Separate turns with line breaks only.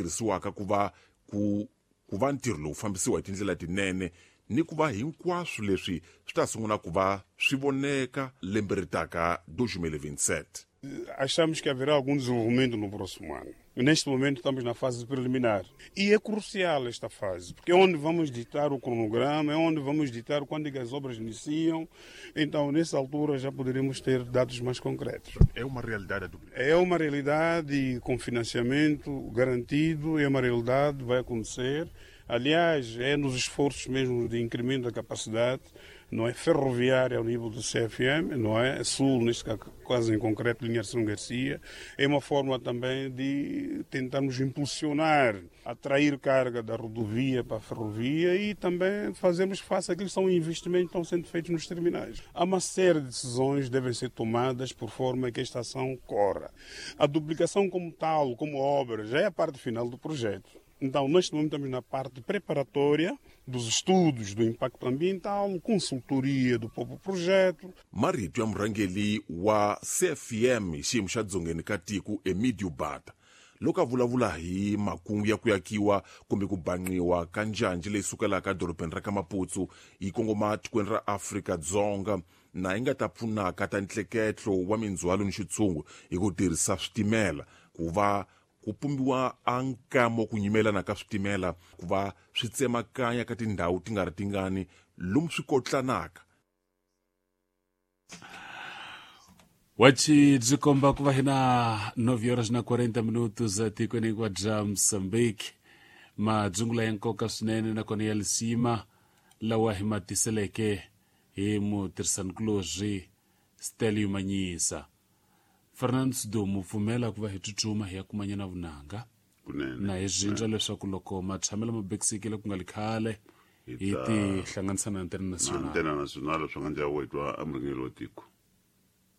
Tirhisiwaka ku va ku ku va ntirho lowu fambisiwa hi tindlela tinene ni ku va hinkwaswo leswi swi ta sungula ku va swi voneka lembe ri taka 2027.
Achamos que haverá algum desenvolvimento no próximo ano. Neste momento estamos na fase preliminar. E é crucial esta fase, porque é onde vamos ditar o cronograma, é onde vamos ditar quando é que as obras iniciam. Então, nessa altura, já poderemos ter dados mais concretos.
É uma realidade a duplicação?
É uma realidade e com financiamento garantido, é uma realidade, vai acontecer. Aliás, é nos esforços mesmo de incremento da capacidade, não é ferroviária ao nível do CFM, não é? Sul, neste caso em concreto, linha São Garcia, é uma forma também de tentarmos impulsionar, atrair carga da rodovia para a ferrovia e também fazermos face àquilo que são investimentos que estão sendo feitos nos terminais. Há uma série de decisões que devem ser tomadas por forma que esta ação corra. A duplicação como tal, como obra, já é a parte final do projeto. Então, neste momento, estamos na parte preparatória dos estudos do impacto ambiental, consultoria do próprio projeto.
Marito ya murhangeri wa CFM xiyimo xa dzongeni ka tiko Emidio Bata loko a vulavula hi makungu ya ku yakiwa kumbe ku banqiwa ka njhanji leyi sukelaka edorobeni ra ka Maputsu yi kongoma tikweni ra Afrika-Dzonga na yi nga ta pfunaka ta ntleketlo wa mindzhwalo ni xitshungu hi ku tirhisa switimela ku va ku pumbiwa a nkamo ku nyimelana ka switimela ku va swi tsemakanya ka tindhawu ti nga ri tingani lomu swi kotlanaka.
Wachi byi komba ku va hi na 9 horas na 40 minutos etikweni hinkwaro bya Mozambique. Madzungula ya nkoka swinene nakona ya lisima lawa hi ma tiseleke hi mutirhisanikulorhi Stelio Manyisa. Fernando Sidumo pfumela ku va hi tsutsuma hi ya kumanyana vunanga
Kunene.
Na hi zvindza leswaku loko matshamelo ma bekisekile ku nga li khale
Hi
hi
ta-
tihlanganisa na Antena
na
Nacional.
Antena Nacional swi nga ndlela wo hi twa emurhangeri wa tiko.